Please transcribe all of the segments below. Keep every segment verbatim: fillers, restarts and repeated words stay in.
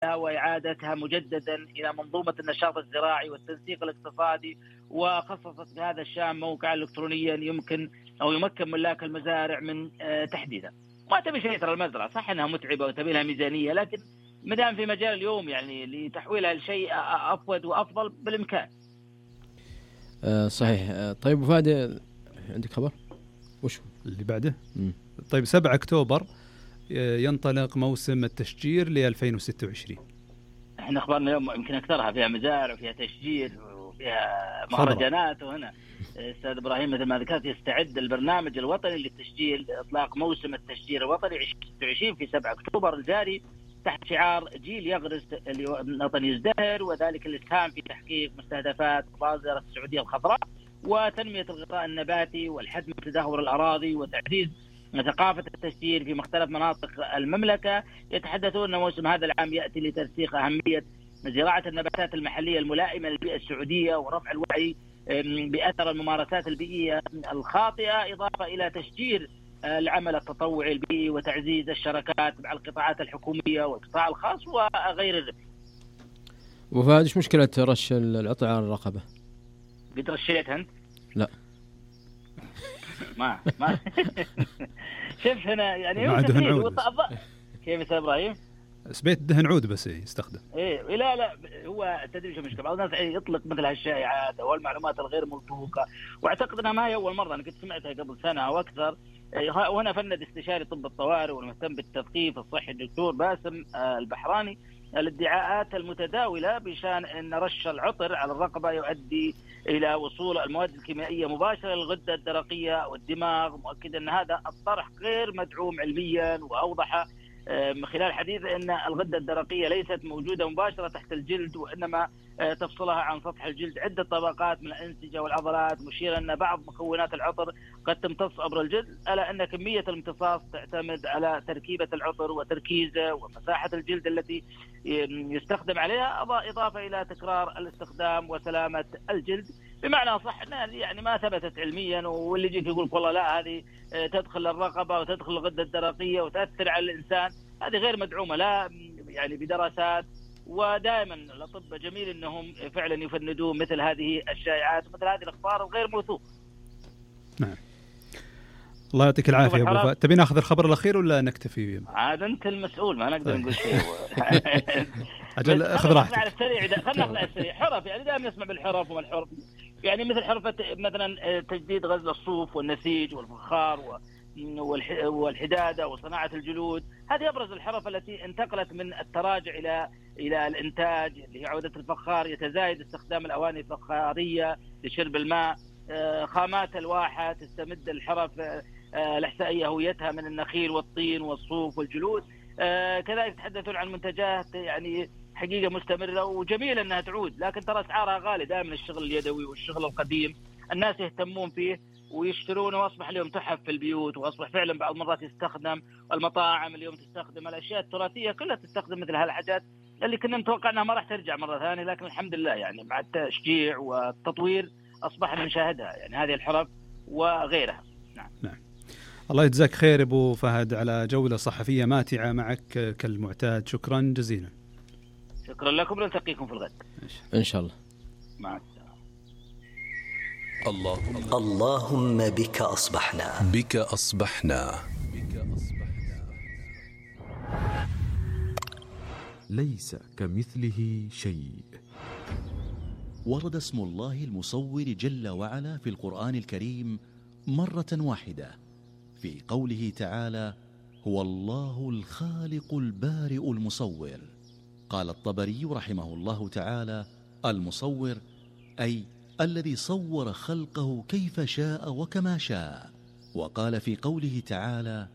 تحويلها وإعادتها مجددا إلى منظومة النشاط الزراعي والتنسيق الاقتصادي، وخصصت بهذا الشأن موقعا إلكترونيا يمكن أو يمكن ملاك المزارع من تحديدها. ما تبي شيء ترى المزرعة صح أنها متعبة وتبي لها ميزانية، لكن مدام في مجال اليوم يعني لتحويلها لشيء أفضل وأفضل بالإمكان. أه صحيح. أه طيب فادي عندك خبر وش اللي بعده؟ مم. طيب سبعة أكتوبر ينطلق موسم التشجير ل ألفين وستة وعشرين. احنا اخبارنا اليوم يمكن اكثرها فيها مزارع وفيها تشجير وفيها مهرجانات. وهنا استاذ ابراهيم مثل ما ذكرت يستعد البرنامج الوطني للتشجير اطلاق موسم التشجير الوطني ألفين وستة وعشرين في سبعة أكتوبر الجاري تحت شعار جيل يغرس الوطن يزدهر، وذلك الاسهام في تحقيق مستهدفات مبادرة السعودية الخضراء وتنمية الغطاء النباتي والحد من تدهور الأراضي وتعزيز ثقافة التشجير في مختلف مناطق المملكة. يتحدثون أن موسم هذا العام يأتي لترسيخ أهمية زراعة النباتات المحلية الملائمة للبيئة السعودية ورفع الوعي بأثر الممارسات البيئية الخاطئة، إضافة إلى تشجير العمل التطوعي البيئي وتعزيز الشراكات مع القطاعات الحكومية والقطاع الخاص وغير ذلك. وفهد ايش مشكلة رش العطر على الرقبة؟ قد رشيت أنت؟ لا ما ما شوف هنا يعني ما دهن عود. كيف استاذ ابراهيم؟ سبيت دهن عود بس يستخدم. ايه لا لا هو تدري شو المشكله، بعض الناس يطلق مثل هالشائعات او المعلومات الغير موثوقه، واعتقد انها ما هي اول مره، انا كنت سمعتها قبل سنه او اكثر. وهنا فند استشاري طب الطوارئ والمهتم بالتثقيف الصحي الدكتور باسم البحراني الادعاءات المتداولة بشان أن رش العطر على الرقبة يؤدي إلى وصول المواد الكيميائية مباشرة للغدة الدرقية والدماغ، مؤكد أن هذا الطرح غير مدعوم علميا. وأوضح من خلال حديث أن الغدة الدرقية ليست موجودة مباشرة تحت الجلد، وإنما تفصلها عن سطح الجلد عدة طبقات من الأنسجة والعضلات، مشيرا أن بعض مكونات العطر قد تمتص عبر الجلد، ألا أن كمية الامتصاص تعتمد على تركيبة العطر وتركيزه ومساحة الجلد التي يستخدم عليها، إضافة إلى تكرار الاستخدام وسلامة الجلد. بمعنى صح أنها يعني ما ثبتت علميا، واللي يجيك يقول والله لا هذه تدخل الرقبة وتدخل الغدة الدرقية وتأثر على الإنسان، هذه غير مدعومة لا يعني بدراسات. ودائما الأطباء جميل أنهم فعلا يفندون مثل هذه الشائعات ومثل هذه الأخبار الغير موثوقة. نعم الله يعطيك العافية أبو فهد. تبي ناخذ الخبر الأخير ولا نكتفي؟ عاد أنت المسؤول ما نقدر نقول شيء. أجل أخذ راحتك. على السريع خلنا ناخذ على السريع. حرف يعني دائما نسمع بالحرف وما الحرف، يعني مثل حرفة مثلا تجديد غزل الصوف والنسيج والفخار والحدادة وصناعة الجلود، هذه أبرز الحرف التي انتقلت من التراجع إلى إلى الإنتاج اللي هي عودة الفخار. يتزايد استخدام الأواني الفخارية لشرب الماء. خامات الواحة تستمد الحرف الإحسائية هويتها من النخيل والطين والصوف والجلود. كذلك تحدثون عن منتجات يعني حقيقة مستمرة وجميلة أنها تعود، لكن ترى أسعارها غالية. دائما الشغل اليدوي والشغل القديم الناس يهتمون فيه ويشترونه، واصبح اليوم تحف في البيوت، واصبح فعلا بعض المرات يستخدم. المطاعم اليوم تستخدم الاشياء التراثيه كلها، تستخدم مثل هالحاجات اللي كنا نتوقع انها ما راح ترجع مره ثانيه، لكن الحمد لله يعني مع التشجيع والتطوير اصبحنا نشاهدها، يعني هذه الحرف وغيرها. نعم. نعم. الله يجزاك خير ابو فهد على جوله صحفيه ماتعه معك كالمعتاد، شكرا جزيلا. شكرا لكم، نلتقيكم في الغد ان شاء الله. مع اللهم اللهم بك أصبحنا بك أصبحنا ليس كمثله شيء. ورد اسم الله المصور جل وعلا في القرآن الكريم مرة واحدة في قوله تعالى: هو الله الخالق البارئ المصور. قال الطبري رحمه الله تعالى: المصور أي الذي صور خلقه كيف شاء وكما شاء. وقال في قوله تعالى: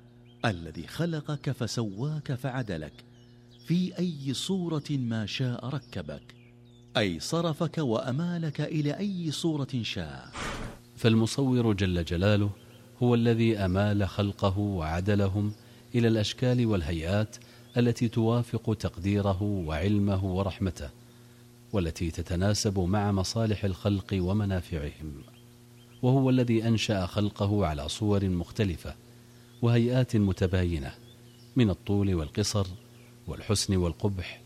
الذي خلقك فسواك فعدلك في أي صورة ما شاء ركبك، أي صرفك وأمالك إلى أي صورة شاء. فالمصور جل جلاله هو الذي أمال خلقه وعدلهم إلى الأشكال والهيئات التي توافق تقديره وعلمه ورحمته، والتي تتناسب مع مصالح الخلق ومنافعهم. وهو الذي أنشأ خلقه على صور مختلفة وهيئات متباينة من الطول والقصر والحسن والقبح